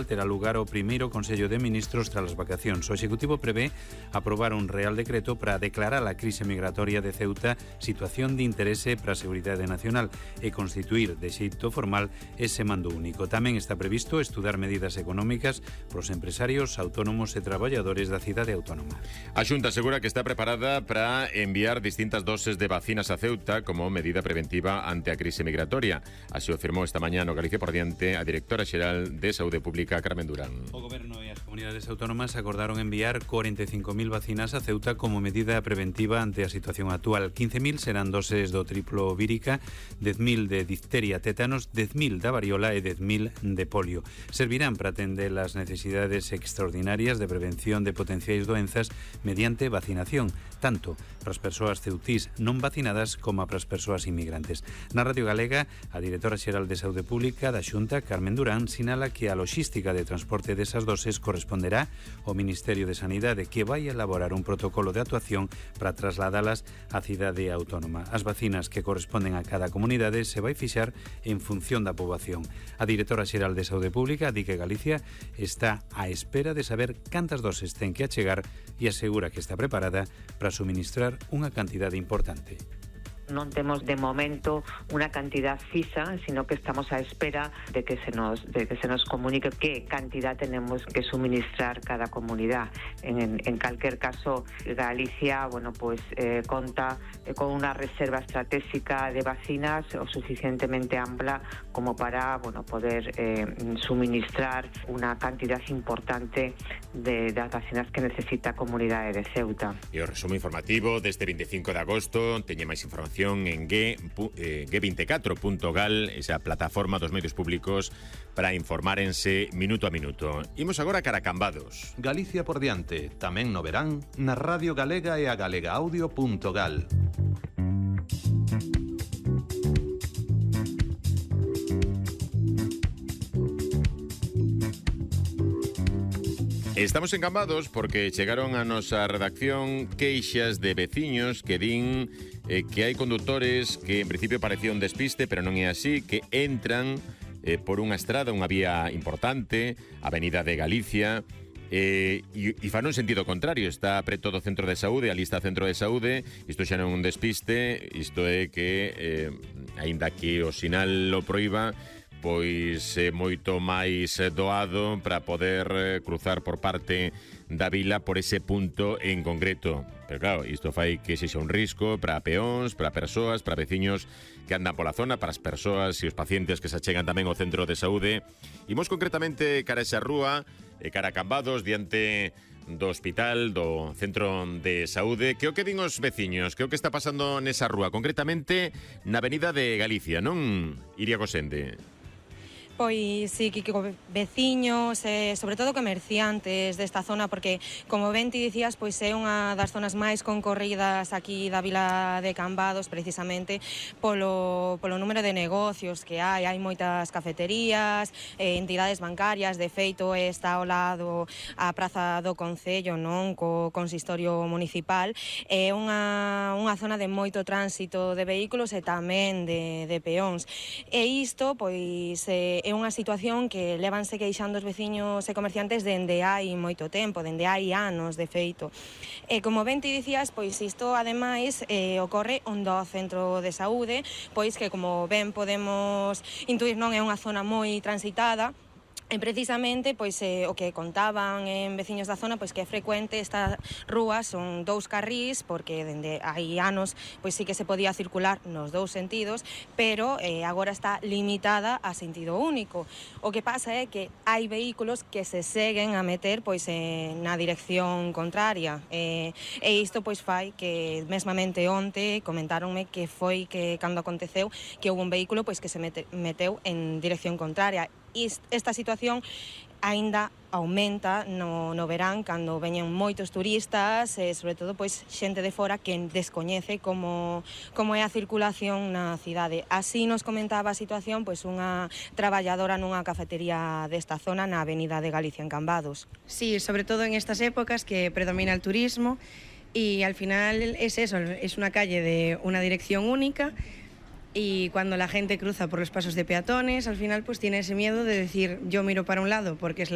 terá lugar o primeiro Consello de Ministros tras as vacacións. O Executivo prevé aprobar un Real Decreto para declarar a crise migratoria de Ceuta situación de interese para a seguridade nacional e constituir de xeito formal ese mando único. Tamén está previsto estudar medidas económicas para os empresarios, autónomos e traballadores da cidade autónoma. A Xunta asegura que está preparada para enviar distintas doses de vacinas a Ceuta como medida preventiva ante a crise migratoria. Así o afirmou esta mañá no Galicia por Diante a directora xeral de Saúde Pública, Carmen Durán. O Goberno e as comunidades autónomas acordaron enviar 45.000 vacinas a Ceuta como medida preventiva ante a situación actual. 15.000 serán doses do triplo vírica, 10.000 de difteria, tétanos, 10.000 da variola e 10.000 de polio. Servirán para atender as necesidades extraordinarias de prevención de potenciais doenzas mediante vacinación, tanto para as persoas ceutís non vacinadas como para as persoas inmigrantes. Na Radio Galega, a directora xeral de Saúde Pública da Xunta, Carmen Durán, sinala que a loxística de transporte desas doses corresponderá ao Ministerio de Sanidade, que vai elaborar un protocolo de actuación para trasladalas á cidade autónoma. As vacinas que corresponden a cada comunidade se vai fixar en función da poboación. A directora xeral de Saúde Pública di que Galicia está á espera de saber cantas doses ten que achegar e asegura que está preparada para suministrar unha cantidade importante. Non temos de momento unha cantidad fixa, sino que estamos á espera de que se nos comunique que cantidad tenemos que suministrar cada comunidad. En calquer caso, Galicia, conta con unha reserva estratégica de vacinas o suficientemente ampla como para, poder suministrar unha cantidad importante de das vacinas que necesita a comunidade de Ceuta. E o resumo informativo deste 25 de agosto teñe máis información en g24.gal, esa plataforma dos medios públicos para informárense minuto a minuto. Imos agora cara a Cambados. Galicia por diante, tamén no verán, na Radio Galega e a galegaaudio.gal. Estamos en Cambados porque chegaron a nosa redacción queixas de veciños que din que hai condutores que en principio parecía un despiste, pero non é así, que entran por unha estrada, unha vía importante, Avenida de Galicia, e fan un sentido contrario. Está preto do centro de saúde, ali está centro de saúde. Isto xa non é un despiste, isto é que aínda que o sinal lo proíba, pois é moito máis doado para poder cruzar por parte da vila por ese punto en concreto. Pero claro, isto fai que sexa un risco para peóns, para persoas, para veciños que andan pola zona, para as persoas e os pacientes que se achegan tamén ao centro de saúde. Imos concretamente cara a esa rúa, cara a Cambados, diante do hospital, do centro de saúde. Que o que din os veciños? Que o que está pasando nesa rúa? Concretamente na Avenida de Galicia, non, Iria Gosende? Pois sí, que veciños e sobre todo comerciantes desta zona, porque como ben ti dicías, pois é unha das zonas máis concorridas aquí da vila de Cambados, precisamente polo número de negocios que hai moitas cafeterías, entidades bancarias. De feito, está ao lado a Praza do Concello, non, co consistorio municipal. É unha zona de moito tránsito de vehículos e tamén de peóns. E isto, pois, é unha situación que levanse queixando os veciños e comerciantes dende hai moito tempo, dende hai anos, de feito. E como ben ti dicías, pois isto ademais ocorre onde o centro de saúde, pois que como ben podemos intuir, non é unha zona moi transitada. E precisamente, pois, o que contaban en veciños da zona, pois que é frecuente esta rúa, son 2 carrís, porque dende hai anos, pois sí que se podía circular nos 2 sentidos, pero agora está limitada a sentido único. O que pasa é que hai vehículos que se seguen a meter, pois, na dirección contraria, e isto, pois, fai que mesmamente onte comentáronme que foi que cando aconteceu que houve un vehículo, pois, que se meteu en dirección contraria. Esta situación aínda aumenta no verán, cando veñen moitos turistas e sobre todo pois xente de fora que descoñece como é a circulación na cidade. Así nos comentaba a situación pois unha traballadora nunha cafetería desta zona na Avenida de Galicia en Cambados. Sí, sobre todo en estas épocas que predomina el turismo y al final es eso, es una calle de una dirección única. y cuando la gente cruza por los pasos de peatones, al final pues tiene ese miedo de decir yo miro para un lado porque es la